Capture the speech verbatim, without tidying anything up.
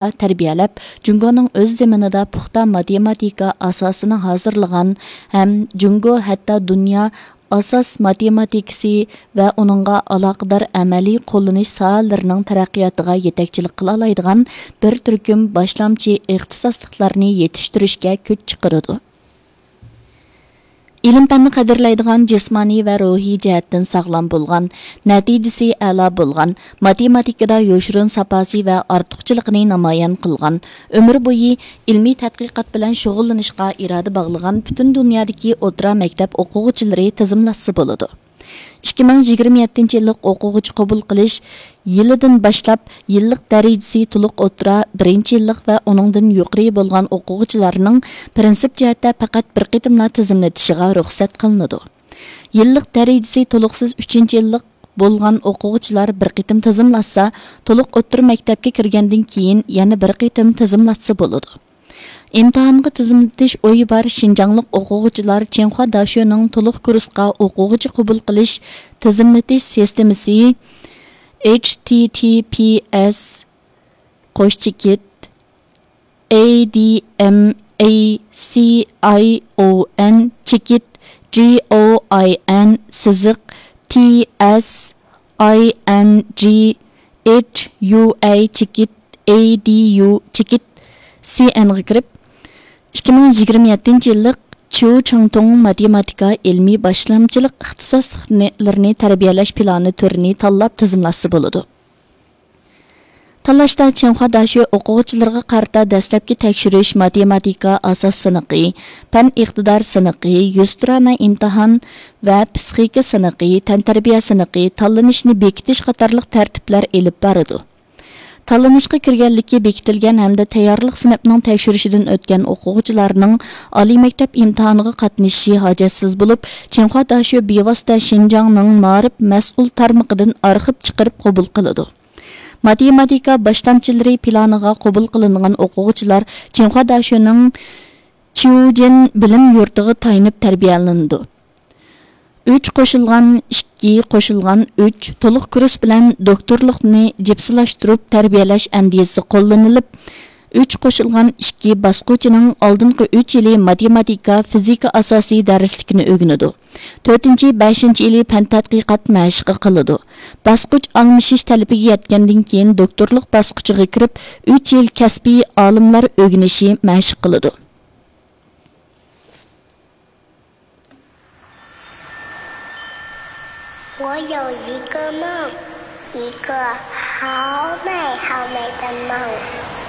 تەربىيەلەپ، جۇڭگونىڭ ئۆز زېمىنىدا پۇختا ماتېماتىكا ئاساسىنى ھازىرلىغان ھەم جۇڭگو ھەتتا دۇنيا ئاساس ماتېماتىكىسى ۋە ئۇنىڭغا ئالاقىدار ئەمەلىي قوللىنىش ساھەلىرىنىڭ تەرەققىياتىغا يېتەكچىلىك قىلالايدىغان بىر تۈركۈم باشلامچى ئىختىساسلىقلارنى يېتىشتۈرۈشكە كۈچ چىقىرىدۇ. ئىلىم-پەننى قەدىرلەيدىغان، جىسمانىي ۋە روھىي جەھەتتىن ساغلام بولغان، نەتىجىسى ئەلا بولغان، ماتېماتىكىدا يوشۇرۇن ساپاسى ۋە ئارتۇقچىلىقىنى نامايان قىلغان، ئۆمۈر بويى ئىلمىي تەتقىقات بىلەن شۇغۇللىنىشقا ئىرادە باغلىغان پۈتۈن دۇنيادىكى ئوتتۇرا مەكتەپ ئوقۇغۇچىلىرى تىزىملاتسا بولىدۇ. ئىككى مىڭ يىگىرمە يەتتىنچى يىللىق ئوقۇغۇچى قوبۇل قىلىش يىلىدىن باشلاپ، يىللىق دەرىجىسى تولۇق ئوتتۇرا، بىرىنچى يىللىق ۋە ئۇنىڭدىن يۇقىرى بولغان ئوقۇغۇچىلارنىڭ پىرىنسىپ جەھەتتە پەقەت بىر قېتىملا تىزىملىتىشىغا رۇخسەت قىلىنىدۇ. يىللىق دەرىجىسى تولۇقسىز ئۈچىنچى يىللىق بولغان ئوقۇغۇچىلار بىر قېتىم تىزىملاتسا، تولۇق ئوتتۇرا مەكتەپكە كىرگەندىن كېيىن يەنە بىر قېتىم تىزىملاتسا بولىدۇ. ئىمتىھانغا تىزىملىتىش ئويى بار شىنجاڭلىق ئوقۇغۇچىلار چىڭخۇا داشۆنىڭ تولۇق كۇرسقا ئوقۇغۇچى قوبۇل قىلىش تىزىملىتىش سىستېمىسى، H T T P S قوش چېكىت، A D M A C I O N چېكىت G O I N سىزىق T S I N G H U A چېكىت A D U چېكىت C N غا كىرىپ، ئىككى مىڭ يىگىرمە يەتتىنچى يىللىق چيۇ چاڭتۇڭ ماتېماتىكا ئىلمىي باشلامچىلىق ئىختىساسلىقلىرىنى تەربىيەلەش پىلانى تۈرىنى تاللاپ تىزىملاتسا بولىدۇ. تاللاشتا چىڭخۇا داشۆ ئوقۇغۇچىلىرىغا قارىتا دەسلەپكى تەكشۈرۈش ماتېماتىكا ئاساس سىنىقى، پەن ئىقتىدار سىنىقى، يۈزتۇرانە ئىمتىھان ۋە پىسخىكا سىنىقى، تەنتەربىيە سىنىقى، تاللىنىشنى بېكىتىش قاتارلىق تەرتىپلەر ئېلىپ بارىدۇ. تاللىنىشقا كىرگەنلىكى بېكىتىلگەن ھەمدە تەييارلىق سىنىپنىڭ تەكشۈرۈشىدىن ئۆتكەن ئوقۇغۇچىلارنىڭ ئالىي مەكتەپ ئىمتىھانىغا قاتنىشىشى ھاجەتسىز بولۇپ، چىڭخۇا داشۆ بىۋاسىتە شىنجاڭنىڭ مائارىپ مەسئۇل تارمىقىدىن ئارخىپ چىقىرىپ قوبۇل قىلىدۇ. ماتېماتىكا باشلامچىلىرى پىلانىغا قوبۇل قىلىنغان ئوقۇغۇچىلار چىڭخۇا داشۆنىڭ چيۇجېن بىلىم يۇرتىغا تايىنىپ تەربىيەلىنىدۇ. ئۈچ قوشۇلغان ئىككى قوشۇلغان ئۈچ تولۇق كۇرس بىلەن دوكتورلۇقنى جىپسىلاشتۇرۇپ تەربىيەلەش ئەندىزىسى قوللىنىلىپ، ئۈچ قوشۇلغان ئىككى باسقۇچىنىڭ ئالدىنقى ئۈچ يىلى ماتېماتىكا، فىزىكا ئاساسىي دەرسلىكىنى ئۆگىنىدۇ. تۆتىنچى، بەشىنچى يىلى پەن تەتقىقات مەشىقى قىلىدۇ. باسقۇچ ئالمىشىش تەلىپىگە يەتكەندىن كېيىن، دوكتورلۇق باسقۇچىغا كىرىپ، ئۈچ يىل كەسپىي ئالىملار ئۆگىنىشى مەشىق قىلىدۇ. 我有一个梦，一个好美好美的梦。